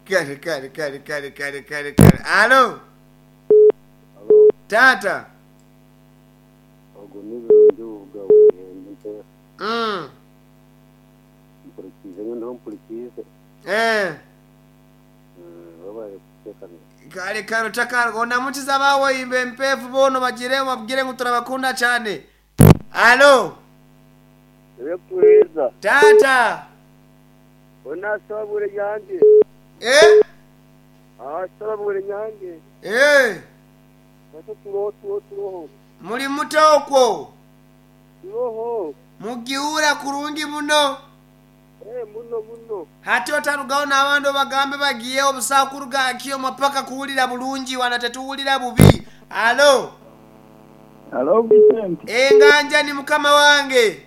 Kale kale kale kale kale kale kale. Alo. Alo. Taata. Ogu ni Birungi Bubuga Bwihembe Mpeeho. Mpurikiize nyowe ndiho mpurikiize. Eh. Webare kuteekanisa. Kale kale otakarwa onamukize abawoimba empeefu boona obagire obabwire ngu turabakunda kyane. Alo. Ebyokutuheereza. Taata. Ona Ssababwire Nyange. Eh? Aha Ssababwire Nyange. Eh. Naitwe turoho turoho turoho. Muli muta okwo? Turoho. Mugiwuura kurungi muno? Eh muno muno. Hati otarugaho n'abandi obagambe bagiyeho busa kuruga aha kyoma paka kuwulira bulungi wana tetuwulira bubi. Alo. Alo Vincent. Enganja ni mukama wange.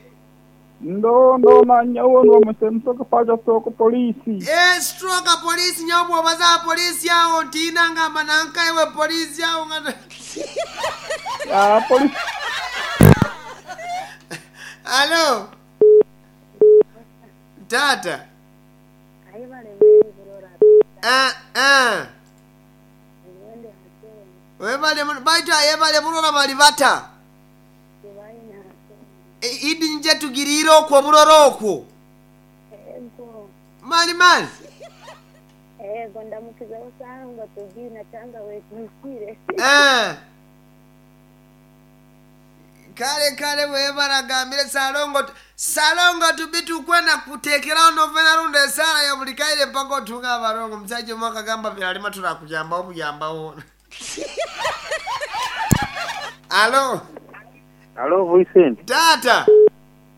Ndo ndo na nyowe ndi omusemusoke paja stroke police. Eeh stroke police nyowe bwobaza aha police aho ntiina ngamba nanka iwe police aho nga Ah police. Alo taata. Eh eh. Webale muno baitu ayebale burora bali bata? Idi nje tugiriire okwo oburora okwo. Mali mali. Eh. Kale kale webale agambire Ssalongo Ssalongo tubi tukwenda kutekeraho novena rundi esaala ya buli kaire mpaka otunge abarongo. Omusaija omwe akagamba Byarima turakuyambaho buyambaho. Alo. Alo Vincent. Taata.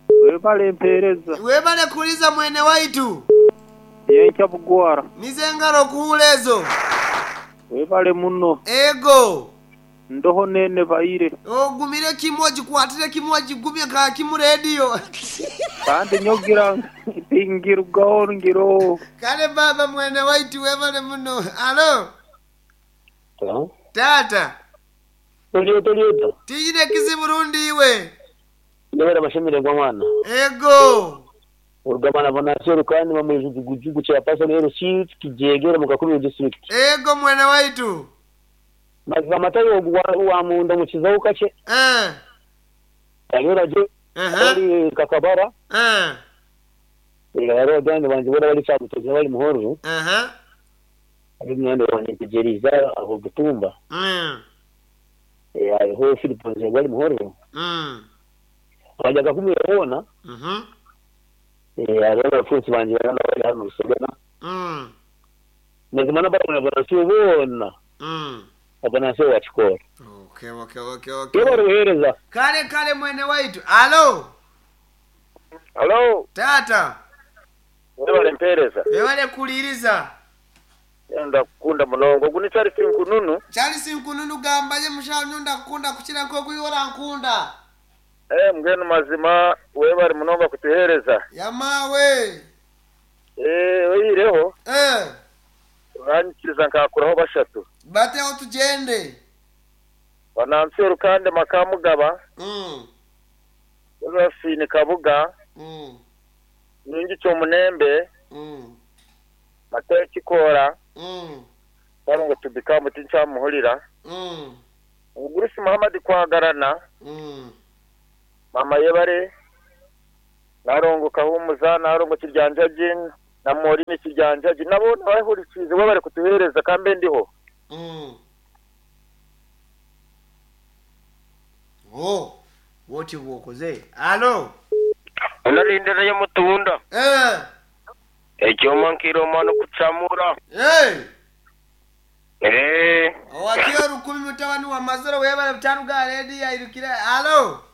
Webale mpereza. Webale kuliza mwene waitu. Yenkya bugwara. Nizo engaro okuhura ezo. Webale muno. Ego. Ndoho nene baire. Ogumire kimwe ogikwatire kimwe ogigumye nka kimu rediyo. Kandi nyogira tingirugaho ngiroho. Kale baaba mwene waitu webale muno. Alo. Hello? Taata. Toli ota oli ota? Tiine kizibu rundi iwe? Ndebera amashemererwa mwana. Ego. Orugamana Bonasiyo kandi bamwe Chairperson LC Kijegere mu Kakubiro District. Ego mwene waitu. Mazima Matayo ogu wamunda mukizaho kakye. Eh. Ayora gye Aha. ari Kakabara. Eh. Hariho abandi bangye boona bari Kyabutozi bari Muhororo. Aha. Hariho munywani wangye Ntegyereize aho Butumba. Hariho Philip Nzengo ari Muhororo. Abandi Kakumiro boona. Hariho abafuuzi bangye boona bari hanu Rusagara. Mazima n'abarumuna Bonasiyo boona. Bonasiyo wa Kikoora. Okay, okay, okay, okay. Yebare buheereza. Kale kale mwene waitu. Alo. Alo. Taata. Webale mpereza. Webale kuliiriza. Ndakukunda munonga. Ogu ni Charles Nkununu. Charles Nkununu gamba ye mushaho nyowe ndakukunda kukira nk'oku iwe orankunda. Eh mbwenu mazima webale munonga kutuhereza. Yamaawe. Eh oyihireho. Eh. Oranyikiriza nkakuraho bashatu. Bateho tugyende. Banansi Rukande Makamugaba. Josephine Kabuga. Nyingi Kyomunembe. Matayo Kikoora. Sarongo Tubikamu tinkyamuhurira. Omugurusi Muhammad Kwagarana. Mama Yebare. Narongo Kahumuza, Narongo Kiryanjagi, na Morini Kiryanjagi. Nabo nabahurikiize bo bari kutuheereza kambe ndiho. Oh, bwotyo bw'okoze. Alo. Onarindira y'omutunda. Eh. Ekyoma nkiroma n'okucamura. Hey. Eh. Owakio rukumi mutabani wa Mazoro webale butaruga rediyo airukire. Alo.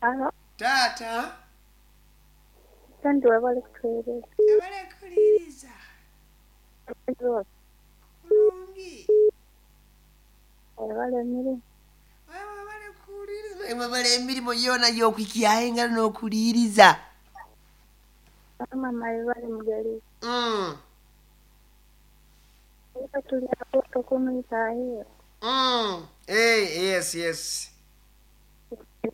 Alo. Taata. Kandi webale kutuheereza. Webale kuliiriza. Kulungi. Webale emirimu. Webale emirimu yoona y'okwikyaho engaro n'okuliiriza. Mama webale mugalizi. Eka tuli aho tokumwitahira. Eh, yes, yes.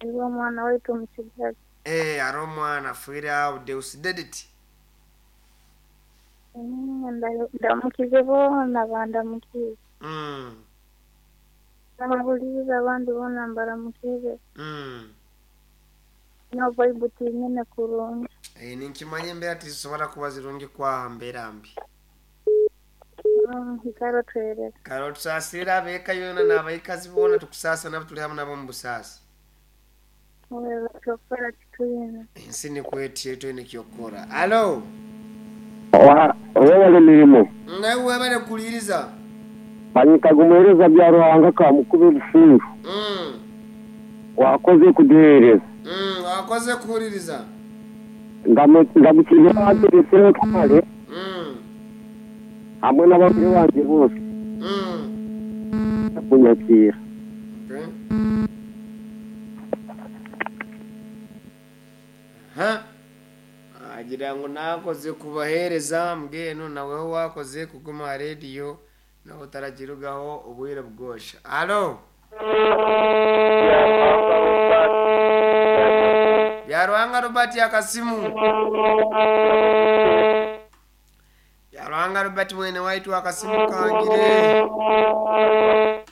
Niwe omwana waitu omutsigazi. Eh, hariho omwana afiire aho Deus Dedit. Ndamukize boona bandamukize. Ababulize abandi boona mbaramukize. No vibe tinyine kurungi. Eh, ninkimanya embeera tizisobora kuba zirungi kwaha mbeera mbi. Ikaro twereka. Kare otusaasire abeeka yoona n'abaikazi boona tukusaasa nabo turi hamwe nabo omu busaasi. Wewe kyokora titwine. Ensi nikwetyo twine kyokukora. Alo, Webale mirimo. nawe webale kuwuliriza. Banyitaga umuhereza bya Ruhanga kamukuba ebifundu. Wakoze kuduhereza. Wakoze kuwuliriza. Ndamukiriye abateretseho twale hamwe n'abagore banjye bose kunyakira. Okay. Ha. Agira ngu nakoze kubahereza mbwenu naweho wakoze kuguma aha rediyo nawe utaragirugaho obwire bwosha. Alo. Byaruhanga Robert akasimu. Byaruhanga Robert mwene waitu akasimu kangire.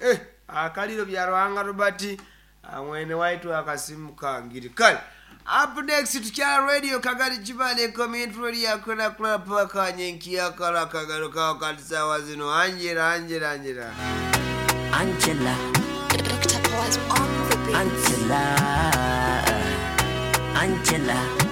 Eh, akaliro Byaruhanga Robert mwene waitu akasimu kangire. Kale. Up next tukyala radio Kagari Kibale community radio akona kula paka nyenkia kala kagaro kawo kati sawa zino Angela Angela Angela. Angela. Dr. Paul's on the beat. Angela. Angela.